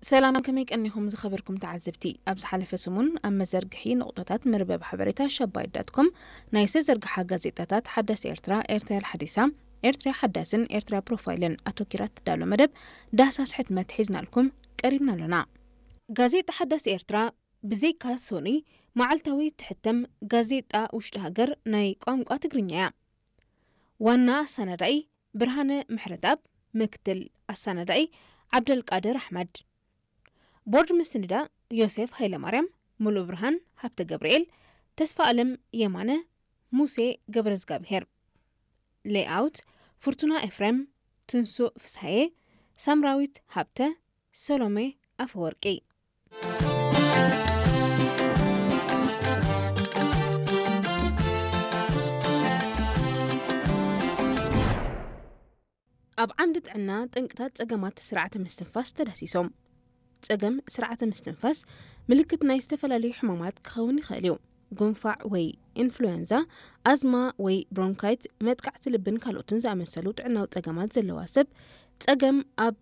ሰላም፣ ከመይ ቀኒኹም ዝኸበርኩም ተዓዘብቲ? ኣብ ዝሓለፈ ሰሙን ኣብ መዘርግሒ ነቑጣታት መርበብ ሓበሬታ ሸባይት ዳት ኮም ናይ ዝተዘርግሓ ጋዜጣታት ሓዳስ ኤርትራ፣ ኤርትራ ሓዲሳ፣ ኤርትራ ሓዳስን ኤርትራ ፕሮፋይልን ኣተኪራ ትዳሎ መደብ ዳህሳስ ሕትመት ሒዝናልኩም ቀሪብና ኣሎና። ጋዜጣ ሓዳስ ኤርትራ ብዘይካ ሶኒ መዓልታዊ ትሕተም ጋዜጣ ውሽጢ ሃገር ናይ ቋንቋ ትግርኛ እያ። ዋና ኣሰናዳኢ ብርሃነ ምሕረትኣብ፣ ምክትል ኣሰናዳኢ ዓብደልቃድር ኣሕመድ። ቦርድ ምስንዳ ዮሴፍ ሃይለማርያም፣ ሙሉእ ብርሃን ሃብተ ገብርኤል፣ ተስፋ ኣለም የማነ፣ ሙሴ ገብረዝጋብሄር። ሌይኣውት ፍርቱና ኤፍሬም፣ ትንሱእ ፍስሃየ፣ ሳምራዊት ሃብተ፣ ሰሎሜ ኣፈወርቂ። ኣብ ዓምዲ ጥዕና ጠንቅታት ጸገማት ስርዓተ ምስትንፋስ ተዳሲሶም። ጸገም ስርዓተ ምስትንፋስ ምልክት ናይ ዝተፈላለዩ ሕማማት ክኸውን ይኽእል እዩ። ጉንፋዕ ወይ ኢንፍሉዌንዛ፣ ኣዝማ ወይ ብሮንካይት፣ መጥቃዕቲ ልብን ካልኦትን ዝኣመሰሉ ጥዕናዊ ጸገማት ዘለዋ ሰብ ጸገም ኣብ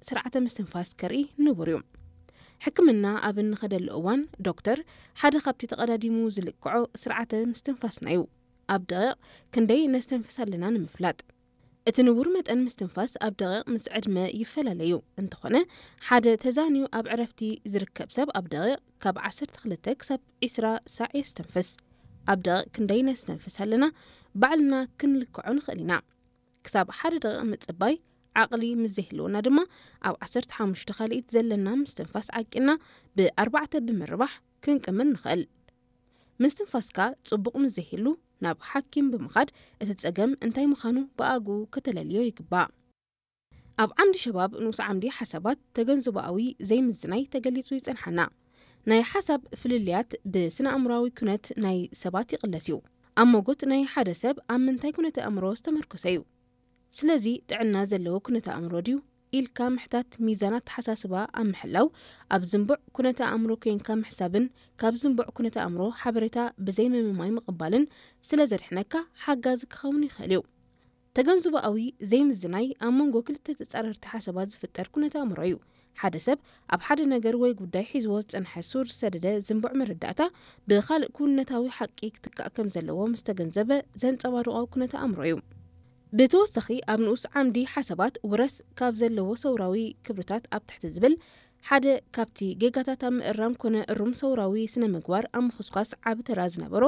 ስርዓተ ምስትንፋስ ከርኢ ንቡር እዩ። ሕክምና ኣብ እንኸደሉ እዋን ዶክተር ሓደ ካብቲ ተቐዳዲሙ ዝልክዖ ስርዓተ ምስትንፋስና እዩ። ኣብ ደቂቕ ክንደይ ነስተንፍስ ኣለና ንምፍላጥ። እቲ ንቡር መጠን ምስትንፋስ ኣብ ደቂቕ ምስ ዕድመ ይፈላለ እዩ። እንተኾነ ሓደ ተዛንዩ ኣብ ዕረፍቲ ዝርከብ ሰብ ኣብ ደቂቕ ካብ ዓሰርተ ክልተ ክሳብ ዕስራ ሳዕ የስተንፍስ። ኣብ ደቂቕ ክንደይ ነስተንፍስ ኣለና ባዕልና ክንልክዖ ንኽእል ኢና። ክሳብ ሓደ ደቂቕ ምጽባይ ዓቕሊ ምስ ዘይህልወና ድማ ኣብ ዓሰርተ ሓሙሽተ ካልኢት ዘለና ምስትንፋስ ዓቂና ብኣርባዕተ ብምርባሕ ክንቅምር ንኽእል። ምስትንፋስካ ጽቡቕ ምስ ዘይህሉ ናብ ሓኪም ብምኻድ እቲ ጸገም እንታይ ምዃኑ ብኣግኡ ከተለልዮ ይግባእ። ኣብ ዓምዲ ሸባብ ንኡስ ዓምዲ ሓሳባት ተገንዝቦኣዊ ዘይምዝናይ ተገሊጹ ይጸንሓና። ናይ ሓሳብ ፍልልያት ብስነ ኣእምሮኣዊ ኩነት ናይ ሰባት ይቕለስ እዩ። ኣብ ሞጎት ናይ ሓደ ሰብ ኣብ ምንታይ ኩነተ ኣእምሮ ዝተመርኮሰ እዩ። ስለዚ ጥዕና ዘለዎ ኩነተ ኣእምሮ ድዩ ኢልካ ምሕታት ሚዛን ኣተሓሳስባ ኣብ ምሕላው፣ ኣብ ዝንቡዕ ኩነተ ኣእምሮ ኮይንካ ምሕሳብን ካብ ዝንቡዕ ኩነተ ኣእምሮ ሓበሬታ ብዘይ ምምማይ ምቕባልን ስለ ዘድሕነካ ሓጋዚ ክኸውን ይኽእል እዩ። ተገንዝቦኣዊ ዘይምዝናይ ኣብ መንጎ ክልተ ተጻረርቲ ሓሳባት ዝፍጠር ኩነተ ኣእምሮ እዩ። ሓደ ሰብ ኣብ ሓደ ነገር ወይ ጉዳይ ሒዝዎ ዝጸንሐ ሱር ዝሰደደ ዝንቡዕ መረዳእታ ብኻልእ ክውንነታዊ ሓቂ ክትካእ ከም ዘለዎ ምስ ተገንዘበ ዘንጸባርቖ ኩነተ ኣእምሮ እዩ። ብተወሳኺ ኣብ ንኡስ ዓምዲ ሓሳባት ውረስ ካብ ዘለዎ ሰውራዊ ክብርታት ኣብ ትሕቲ ዝብል ሓደ ካብቲ ጌጋታት ኣብ ምእራም ኮነ እሩም ሰውራዊ ስነ ምግባር ኣብ ምኹስኳስ ዓቢ ተራ ዝነበሮ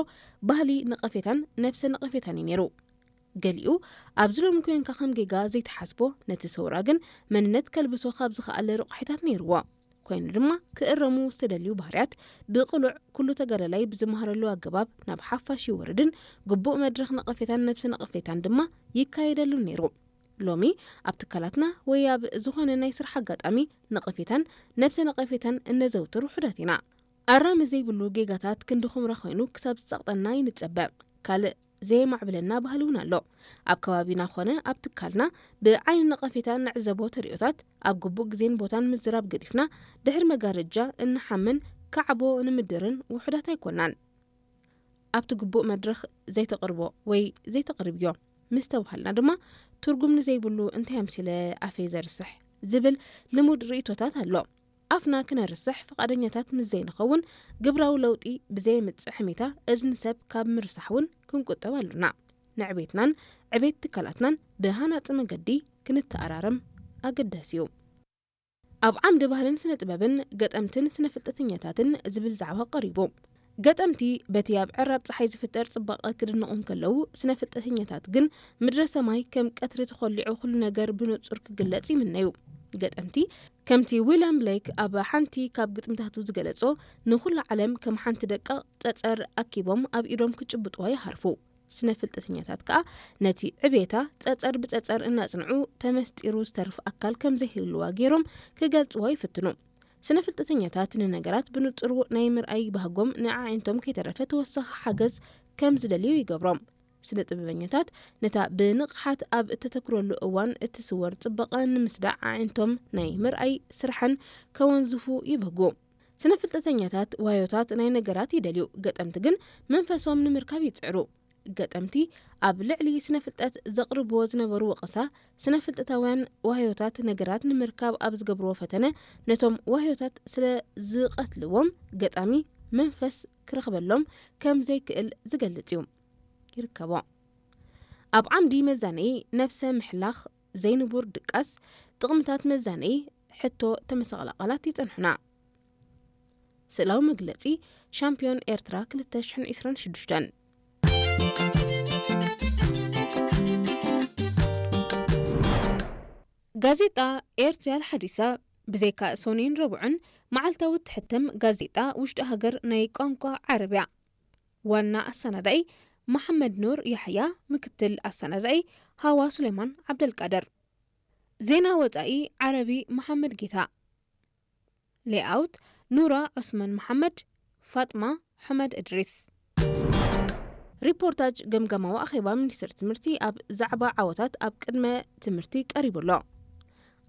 ባህሊ ነቐፌታን ነብሰ ነቐፌታን እዩ ነይሩ። ገሊኡ ኣብዚ ሎሚ ኮንካ ከም ጌጋ ዘይትሓስቦ ነቲ ሰውራ ግን መንነት ከልብሶ ካብ ዝኸኣለ ረቑሒታት ነይርዎ። ኮይኑ ድማ ክእረሙ ዝተደልዩ ባህርያት ብቕሉዕ ኩሉ ተጋዳላይ ብዝመሃረሉ ኣገባብ ናብ ሓፋሽ ይወርድን ግቡእ መድረኽ ነቐፌታን ነብሰ ነቐፌታን ድማ ይካየደሉ ነይሩ። ሎሚ ኣብ ትካላትና ወይ ኣብ ዝኾነ ናይ ስራሕ ኣጋጣሚ ነቐፌታን ነብሰ ነቐፌታን እነዘውትር ውሑዳት ኢና። ኣራሚ ዘይብሉ ጌጋታት ክንዲ ኹምራ ኮይኑ ክሳብ ዝጸቕጠና ይንጸበ። ካልእ ዘየማዕብለና ባህሊ እውን ኣሎ። ኣብ ከባቢና ኾነ ኣብ ትካልና ብዓይኒ ነቐፌታ እንዕዘቦ ተርእዮታት ኣብ ግቡእ ግዜን ቦታን ምዝራብ ገዲፍና ድሕሪ መጋረጃ እንሓምን ካዕቦ ንምድርን ውሑዳት ኣይኮናን። ኣብቲ ግቡእ መድረኽ ዘይተቕርቦ ወይ ዘይተቕርብዮ ምስ ተባሃልና ድማ ትርጉም ንዘይብሉ እንታይ ኣምሲለ ኣፈይ ዘርስሕ ዝብል ልሙድ ርእይቶታት ኣሎ። ኣፍና ክነርስሕ ፍቓደኛታት ምስ ዘይንኸውን ግብራዊ ለውጢ ብዘየምጽእ ሕሜታ እዝኒ ሰብ ካብ ምርሳሕ እውን ክንቁጠብ ኣሎና። ንዕቤትናን ዕቤት ትካላትናን ብሃናጺ መገዲ ክንተኣራረም ኣገዳሲ እዩ። ኣብ ዓምዲ ባህልን ስነ ጥበብን ገጠምትን ስነ ፍልጠተኛታትን ዝብል ዛዕባ ቀሪቡ። ገጠምቲ በቲ ኣብ ዕራብ ጸሓይ ዝፍጠር ጽባቐ ክድነቑ እንከለዉ፣ ስነ ፍልጠተኛታት ግን ምድረ ሰማይ ከም ቀትሪ ተኾሊዑ ኩሉ ነገር ብንጹር ክግለጽ ይምነዩ። ገጠምቲ ከምቲ ዊልያም ብሌክ ኣብ ሓንቲ ካብ ግጥምታቱ ዝገለጾ፣ ንኹሉ ዓለም ከም ሓንቲ ደቃቕ ጸጸር ኣኪቦም ኣብ ኢዶም ክጭብጥዋ ይሃርፉ። ስነ ፍልጠተኛታት ከኣ ነቲ ዕቤታ ጸጸር ብጸጸር እናጽንዑ ተመስጢሩ ዝተርፍ ኣካል ከም ዘይህልዋ ገይሮም ክገልጽዋ ይፍትኑ። ስነ ፍልጠተኛታት ንነገራት ብንጹሩ ናይ ምርኣይ ባህጎም ንኣዒንቶም ከይተረፈ ተወሳኺ ሓገዝ ከም ዝደልዩ ይገብሮም። ስነ ጥበበኛታት ነታ ብንቕሓት ኣብ እተተኩረሉ እዋን እትስወር ጽባቐ ንምስዳዕ ኣዒንቶም ናይ ምርኣይ ስራሐን ከወንዝፉ ይብህጉ። ስነ ፍልጠተኛታት ዋዮታት ናይ ነገራት ይደልዩ፣ ገጠምቲ ግን መንፈሶም ንምርካብ ይጽዕሩ። ገጠምቲ ኣብ ልዕሊ ስነ ፍልጠት ዘቕርብዎ ዝነበሩ ወቐሳ፣ ስነ ፍልጠታውያን ዋህዮታት ነገራት ንምርካብ ኣብ ዝገብርዎ ፈተነ፣ ነቶም ዋህዮታት ስለ ዝቐትልዎም፣ ገጣሚ መንፈስ ክረኽበሎም ከም ዘይክእል ዝገልጽ እዩ። ይርከቦ። ኣብ ዓምዲ መዛነዪ ነብሰ ምሕላኽ፣ ዘይንቡር ድቃስ፣ ጥቕምታት መዛነዪ፣ ሕቶ ተመሳቕላ ቃላት ይጸንሑና። ስእላዊ መግለጺ፣ ሻምፒዮን ኤርትራ ክልተ ሽሕን ዕስራን ሽዱሽተን። ጋዜጣ ኤርትርያ ኣልሓዲሳ፣ ብዘይካ ሶኒን ረቡዕን፣ መዓልታዊ እትሕተም ጋዜጣ ውሽጢ ሃገር ናይ ቋንቋ ዓረብያ። ዋና ኣሰናዳኢ መሓመድ ኑር ያሕያ፣ ምክትል ኣሰናዳኢ ሃዋ ሱሌማን ዓብደልቃድር። ዜና ወጻኢ ዓረቢ መሓመድ ጌታ። ሌኣውት ኑራ ዑስማን መሓመድ፣ ፋጥማ ሑመድ እድሪስ። ሪፖርታጅ ገምጋማዊ ኣኼባ ሚኒስትሪ ትምህርቲ ኣብ ዛዕባ ዓወታት ኣብ ቅድመ ትምህርቲ ቀሪቡ ኣሎ።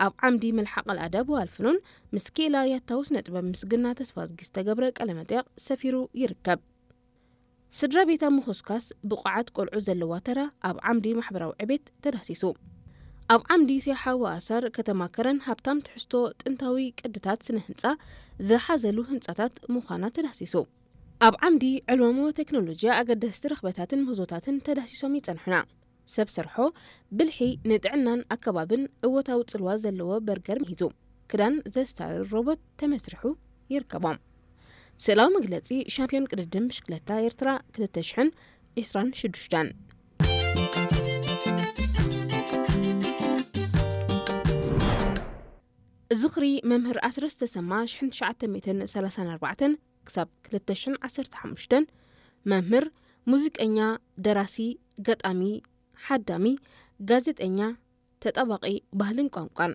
ኣብ ዓምዲ መልሓቕ ኣልኣዳብ ወኣልፍኑን ምስ ክኢላ ያታው ስነ ጥበብ ምስግና ተስፋዝጊ ዝተገብረ ቃለ መጠይቕ ሰፊሩ ይርከብ። ስድራ ቤታ ምኹስካስ ብቑዓት ቆልዑ ዘለዋ ተራ ኣብ ዓምዲ ማሕበራዊ ዕቤት ተዳህሲሱ። ኣብ ዓምዲ ሴሓ ወኣሳር ከተማ ከረን ሃብታም ትሕዝቶ ጥንታዊ ቅድታት ስነ ህንጻ ዝሓዘሉ ህንጻታት ምዃና ተዳህሲሱ። ኣብ ዓምዲ ዕልዋሞ ቴክኖሎጂ ኣገደስቲ ረኽበታትን ምህዞታትን ተዳህሲሶም ይጸንሑና። ሰብ ሰርሖ ብልሒ ንጥዕናን ኣከባብን እወታዊ ጽልዋ ዘለዎ በርገር ምሂዙ። ክዳን ዘስታርር ሮቦት ተመስሪሑ ይርከቦም። ስእላዊ መግለጺ ሻምፒዮን ቅድድም ብሽክለታ ኤርትራ ክልተ ሽሕን ዕስራን ሽዱሽተን። ዝኽሪ መምህር ኣስረስ ተሰማ ሽሕን ትሽዓተ ሚእትን ሰላሳን ኣርባዕተን ክሳብ ክልተ ሽሕን ዓሰርተ ሓሙሽተን። መምህር፣ ሙዚቀኛ፣ ደራሲ፣ ገጣሚ፣ ሓዳሚ፣ ጋዜጠኛ፣ ተጣባቒ ባህልን ቋንቋን።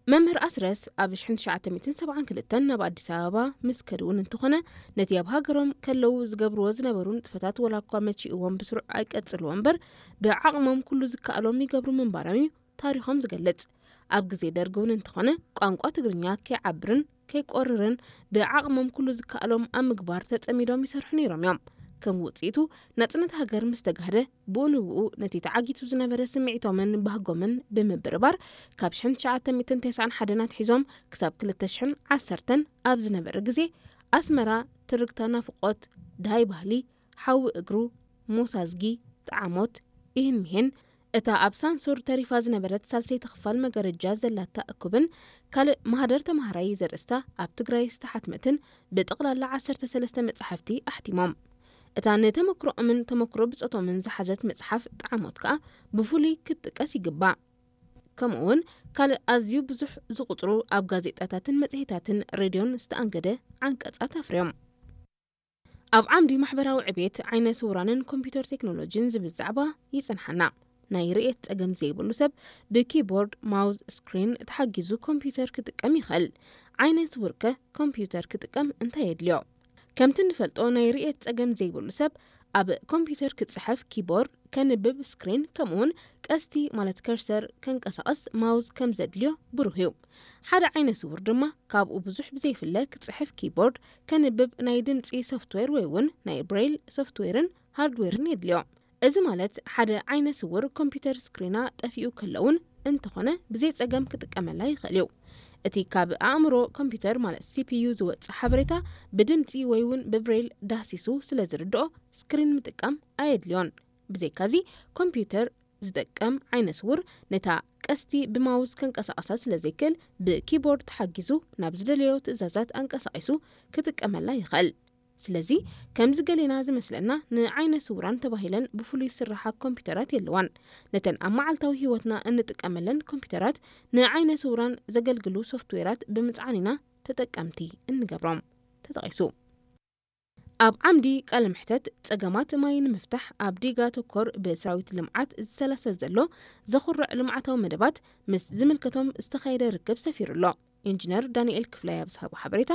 መምህር ኣስረስ ኣብ ሽሕን ትሽዓተ ሚእትን ሰብዓን ክልተን ናብ ኣዲስ ኣበባ ምስ ከድውን እንተኾነ፣ ነቲ ኣብ ሃገሮም ከለዉ ዝገብርዎ ዝነበሩ ንጥፈታት ወላ እኳ መቺእዎም ብስሩዕ ኣይቀጽልዎ እምበር፣ ብዓቕሞም ኩሉ ዝከኣሎም ይገብሩ ምንባሮም እዩ ታሪኾም ዝገልጽ። ኣብ ግዜ ደርጊ እውን እንተኾነ፣ ቋንቋ ትግርኛ ከይዓብርን ከይቆርርን ብዓቕሞም ኩሉ ዝከኣሎም ኣብ ምግባር ተጸሚዶም ይሰርሑ ነይሮም እዮም። ከም ውጽኢቱ፣ ናጽነት ሃገር ምስ ተጋህደ፣ ብኡ ንብኡ ነቲ ተዓጊቱ ዝነበረ ስምዒቶምን ባህጎምን ብምብርባር፣ ካብ ሽሕን ትሽዓተ ሚእትን ተስዓን ሓደን ኣትሒዞም ክሳብ ክልተ ሽሕን ዓሰርተን ኣብ ዝነበረ ግዜ፣ ኣስመራ ትርግታ ናፍቖት፣ ደሃይ ባህሊ፣ ሓዊ እግሩ፣ ሞሳዝጊ፣ ጠዓሞት፣ ኢህን ሚሄን፣ እታ ኣብ ሳንሱር ተሪፋ ዝነበረት ሳልሰይቲ ክፋል መጋረጃ ዘላታ እኩብን ካልእ ማህደር ተማሃራይ ዘርእስታ ኣብ ትግራይ ዝተሓትመትን ብጠቕላላ ዓሰርተ ሰለስተ መጻሕፍቲ ኣሕቲሞም። እታ ንተመክሮኦምን ተመክሮ ብጾቶምን ዝሓዘት መጽሓፍ ጠዓሞት ከኣ ብፍሉይ ክትጥቀስ ይግባእ። ከምኡ እውን ካልእ ኣዝዩ ብዙሕ ዝቑጽሩ ኣብ ጋዜጣታትን መጽሔታትን ሬድዮን ዝተኣንገደ ዓንቀጻት ኣፍርዮም። ኣብ ዓምዲ ማሕበራዊ ዕቤት፣ ዓይነ ስውራንን ኮምፒውተር ቴክኖሎጂን ዝብል ዛዕባ ይጸንሓና። ናይ ርእየት ጸገም ዘይብሉ ሰብ ብኪቦርድ፣ ማውዝ፣ ስክሪን ተሓጊዙ ኮምፒውተር ክጥቀም ይኽእል። ዓይነ ስውር ከ ኮምፒውተር ክጥቀም እንታይ የድልዮ? ከምቲ እንፈልጦ፣ ናይ ርእየት ጸገም ዘይብሉ ሰብ ኣብ ኮምፒውተር ክጽሕፍ፣ ኪቦርድ ከንብብ፣ ስክሪን ከምኡውን ቀስቲ ማለት ከርሰር ከንቀሳቕስ ማውዝ ከም ዘድልዮ ብሩህ እዩ። ሓደ ዓይነ ስውር ድማ ካብኡ ብዙሕ ብዘይፍለ ክጽሕፍ ኪቦርድ፣ ከንብብ ናይ ድምጺ ሶፍትዌር ወይ እውን ናይ ብሬይል ሶፍትዌርን ሃርድዌርን የድልዮ። እዚ ማለት ሓደ ዓይነ ስውር ኮምፒውተር ስክሪና ጠፊኡ ከለውን እንተኾነ ብዘይ ጸገም ክጥቀመላ ይኽእል እዩ። እቲ ካብ ኣእምሮ ኮምፒውተር ማለት ሲፒዩ ዝወጽእ ሓበሬታ ብድምጺ ወይ እውን ብብሬይል ዳህሲሱ ስለ ዝርድኦ ስክሪን ምጥቃም ኣየድልዮን። ብዘይካዚ ኮምፒውተር ዝጥቀም ዓይነ ስውር ነታ ቀስቲ ብማውዝ ከንቀሳቐሳ ስለ ዘይክእል ብኪቦርድ ተሓጊዙ ናብ ዝደለዮ ትእዛዛት ኣንቀሳቒሱ ክጥቀመላ ይኽእል። ስለዚ ከምዚ ገሌና ዝመስለና ንዓይነ ስውራን ተባሂለን ብፍሉይ ዝስራሓ ኮምፒውተራት የለዋን። ነተን ኣብ መዓልታዊ ህይወትና እንጥቀመለን ኮምፒውተራት ንዓይነ ስውራን ዘገልግሉ ሶፍትዌራት ብምጽዓን ኢና ተጠቀምቲ እንገብሮም። ተጠቒሱ። ኣብ ዓምዲ ቃለ መሕተት ጸገማት ማይ ንምፍታሕ ኣብ ዲጋ ተኮር ብሰራዊት ልምዓት ዝሰላሰል ዘሎ ዘኹርዕ ልምዓታዊ መደባት ምስ ዝምልከቶም ዝተኻየደ ርክብ ሰፊሩ ኣሎ። ኢንጂነር ዳንኤል ክፍላይ ኣብ ዝሃቦ ሓበሬታ፣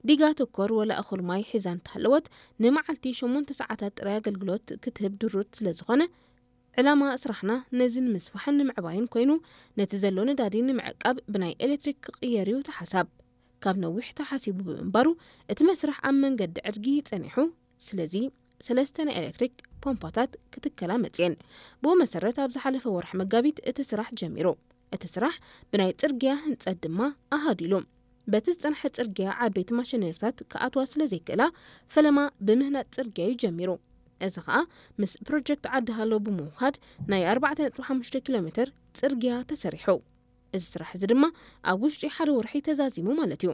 ዲጋ ተኮር ወላ እኹል ማይ ሒዛ እንተሃለወት፣ ንመዓልቲ ሸሞንተ ሰዓታት ጥራይ ኣገልግሎት ክትህብ ድሩት ስለ ዝኾነ፣ ዕላማ ስራሕና ነዚ ንምስፋሕን ንምዕባይን ኮይኑ፣ ነቲ ዘሎ ነዳዲ ንምዕቃብ ብናይ ኤሌክትሪክ ክቕየር እዩ ተሓሳብ። ካብ ነዊሕ ተሓሲቡ ብምንባሩ፣ እቲ መስርሕ ኣብ መንገዲ ዕድጊ ጸኒሑ። ስለዚ፣ ሰለስተ ናይ ኤሌክትሪክ ፖምፓታት ክትከላ መጽየን። ብኡ መሰረት ኣብ ዝሓለፈ ወርሒ መጋቢት እቲ ስራሕ ጀሚሩ። እቲ ስራሕ ብናይ ጽርግያ ህንጸት ድማ ኣሃዲሉ። በቲ ዝጸንሐ ጽርግያ ዓበይቲ ማሽነሪታት ክኣትዋ ስለ ዘይክእላ ፈለማ ብምህናጽ ጽርግያ እዩ ጀሚሩ። እዚ ኸኣ ምስ ፕሮጀክት ዓዲ ሃሎ ብምውሃድ ናይ ኣርባዕተ ነጥቢ ሓሙሽተ ኪሎ ሜትር ጽርግያ ተሰሪሑ። እዚ ስራሕ እዚ ድማ ኣብ ውሽጢ ሓደ ወርሒ ተዛዚሙ ማለት እዩ።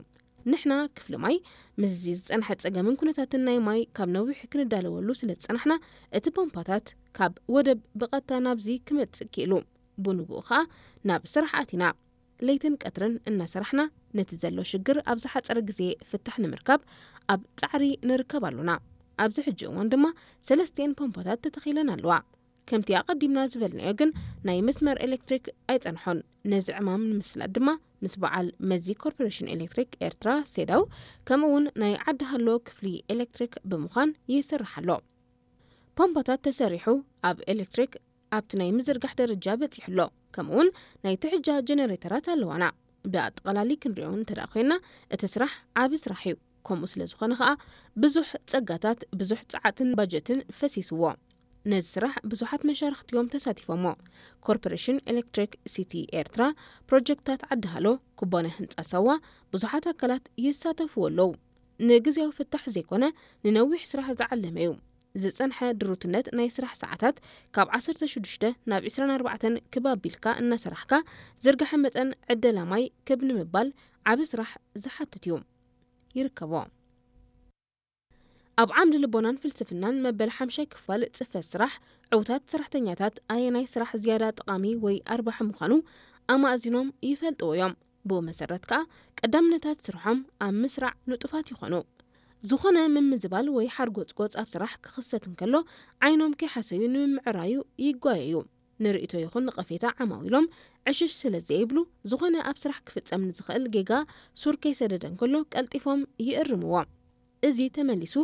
ንሕና ክፍሊ ማይ ምስዚ ዝጸንሐ ጸገምን ኩነታትን ናይ ማይ ካብ ነዊሕ ክንዳለወሉ ስለ ዝጸናሕና እቲ ፖምፓታት ካብ ወደብ ብቐጥታ ናብዚ ክመጽእ ክኢሉ። ብንቡኡ ኸኣ ናብ ስራሕ ኣቲና። ለይትን ቀትርን እናሰራሕና ነቲ ዘሎ ሽግር ኣብ ዝሓጸረ ግዜ ፍታሕ ንምርካብ ኣብ ጻዕሪ ንርከብ ኣሎና። ኣብዚ ሕጂ እዋን ድማ ሰለስቲኤን ፖምፓታት ተተኺለን ኣለዋ። ከምቲ ኣቐዲምና ዝበልናዮ ግን ናይ መስመር ኤሌክትሪክ ኣይጸንሖን። ነዚ ዕማም ንምስላጥ ድማ ምስ በዓል መዚ ኮርፖሬሽን ኤሌክትሪክ ኤርትራ ሴዳው ከምኡ እውን ናይ ዓዲ ሃሎ ክፍሊ ኤሌክትሪክ ብምዃን ይስራሕ ኣሎ። ፓምፓታት ተሰሪሑ ኣብ ኤሌክትሪክ ኣብቲ ናይ ምዝርጋሕ ደረጃ በጺሑ ኣሎ። ከምኡውን ናይ ትሕጃ ጀነሬተራት ኣለዋና። ብኣጠቓላሊ ክንሪኦ እንተ ደኣ ኮይና እቲ ስራሕ ዓቢ ስራሕ እዩ። ከምኡ ስለ ዝኾነ ኸኣ ብዙሕ ጸጋታት፣ ብዙሕ ጸዓትን ባጀትን ፈሲስዎ። ነዚ ስራሕ ብዙሓት መሻርኽቲ እዮም ተሳቲፎሞ። ኮርፖሬሽን ኤሌክትሪክ ሲቲ ኤርትራ፣ ፕሮጀክታት ዓዲ ሃሎ፣ ኩባንያ ህንጻ ሳዋ፣ ብዙሓት ኣካላት ይሳተፍዎ ኣለዉ። ንግዜያዊ ፍታሕ ዘይኮነ ንነዊሕ ስራሕ ዝዓለመ እዩ። ዝጸንሐ ድሩትነት ናይ ስራሕ ሰዓታት ካብ ዓሰርተ ሽዱሽተ ናብ ዕስራን ኣርባዕተን ክብ ኣቢልካ እናሰራሕካ ዝርግሐ መጠን ዕደላ ማይ ክብ ንምባል ዓቢ ስራሕ ዝሓትት እዩ። ይርከቦ። ኣብ ዓምዲ ልቦናን ፍልስፍናን መበል ሓምሻይ ክፋል ጽፈት ስራሕ ዕውታት ሰራሕተኛታት ኣየናይ ስራሕ ዝያዳ ጠቓሚ ወይ ኣርባሒ ምዃኑ ኣማእዚኖም ይፈልጥዎ እዮም። ብኡ መሰረት ከኣ ቀዳምነታት ስርሖም ኣብ ምስራዕ ንጡፋት ይኾኑ። ዝኾነ ምምዝባል ወይ ሓርጎጽጎጽ ኣብ ስራሕ ክኽሰት እንከሎ ዓይኖም ከይሓሰዩ ንምምዕራዩ ይጓየዩ። ንርእይቶ ይኹን ነቐፌታ ዓማዊሎም ዕሽሽ ስለ ዘይብሉ፣ ዝኾነ ኣብ ስራሕ ክፍጸም ንዝኽእል ጌጋ ሱር ከይሰደደ እንከሎ ቀልጢፎም ይእርምዎ። እዚ ተመሊሱ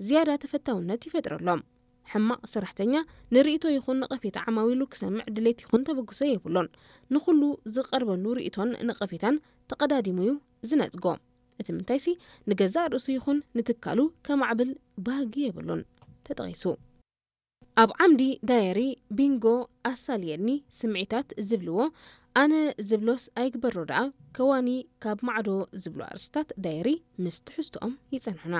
ዝያዳ ተፈታውነት ይፈጥረሎም። ሕማቕ ሰራሕተኛ ንርእይቶ ይኹን ነቐፌታ ዓማዊሉ ክሰምዕ ድሌት ይኹን ተበግሶ የብሉን። ንኹሉ ዝቐርበሉ ርእይቶን ነቐፌታን ተቐዳዲሙ እዩ ዝነጽጎ። እቲ ምንታይሲ ንገዛእ ርእሱ ይኹን ንትካሉ ከማዕብል ባህጊ የብሉን። ተጠቒሱ። ኣብ ዓምዲ ዳየሪ ቢንጎ ኣሳልየኒ ስምዒታት ዝብልዎ ኣነ ዝብሎስ ኣይግበሮ ደኣ ከዋኒ ካብ ማዕዶ ዝብሉ ኣርእስታት ዳየሪ ምስ ትሕዝቶኦም ይጸንሑና።